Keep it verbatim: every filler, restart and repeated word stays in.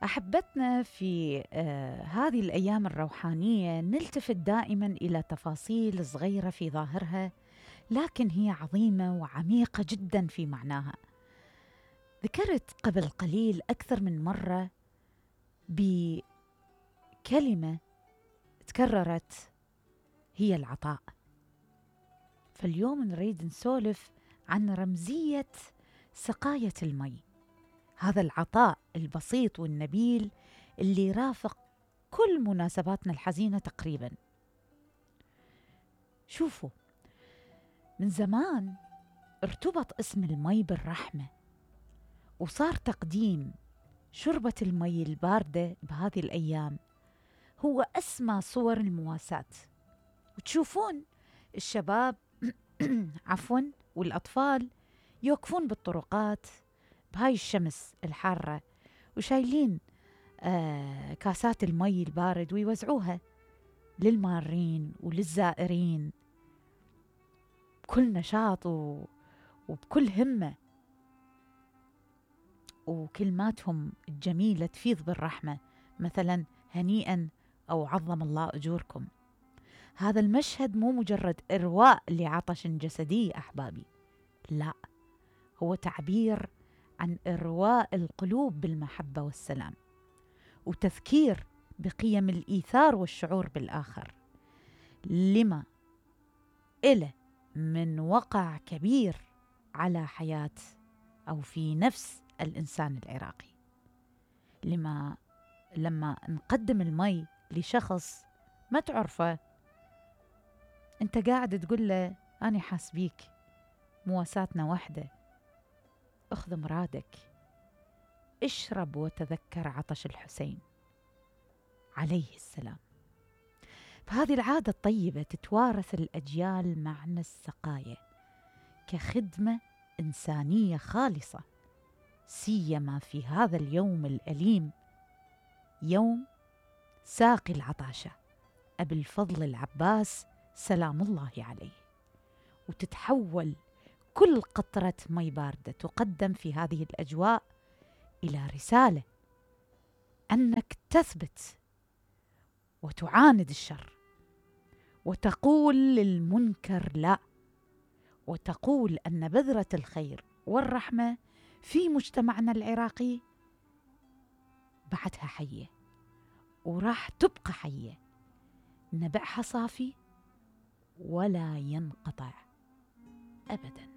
أحبتنا في آه هذه الأيام الروحانية نلتفت دائما إلى تفاصيل صغيرة في ظاهرها، لكن هي عظيمة وعميقة جدا في معناها. ذكرت قبل قليل أكثر من مرة بكلمة تكررت، هي العطاء. فاليوم نريد نسولف عن رمزية سقاية المي، هذا العطاء البسيط والنبيل اللي رافق كل مناسباتنا الحزينة تقريبا. شوفوا، من زمان ارتبط اسم المي بالرحمة، وصار تقديم شربة المي الباردة بهذه الأيام هو أسمى صور المواساة. وتشوفون الشباب عفوا والأطفال يوقفون بالطرقات بهاي الشمس الحارة وشايلين آه كاسات المي البارد ويوزعوها للمارين وللزائرين بكل نشاط وبكل همة، وكلماتهم الجميلة تفيض بالرحمة، مثلا هنيئا أو عظم الله أجوركم. هذا المشهد مو مجرد إرواء لعطش جسدي أحبابي، لا، هو تعبير عن إرواء القلوب بالمحبة والسلام، وتذكير بقيم الإيثار والشعور بالآخر، لما إله من وقع كبير على حياة أو في نفس الإنسان العراقي. لما لما نقدم المي لشخص ما تعرفه، أنت قاعد تقول له أنا حاسبيك، مواساتنا وحدة، أخذ مرادك، اشرب وتذكر عطش الحسين عليه السلام. فهذه العادة الطيبة تتوارث الأجيال معنى السقاية كخدمة إنسانية خالصة، سيما في هذا اليوم الأليم، يوم ساقي العطاشة أبي الفضل العباس سلام الله عليه. وتتحول كل قطرة مي باردة تقدم في هذه الأجواء إلى رسالة أنك تثبت وتعاند الشر، وتقول للمنكر لا، وتقول أن بذرة الخير والرحمة في مجتمعنا العراقي بعدها حية وراح تبقى حية، نبعها صافي ولا ينقطع أبداً.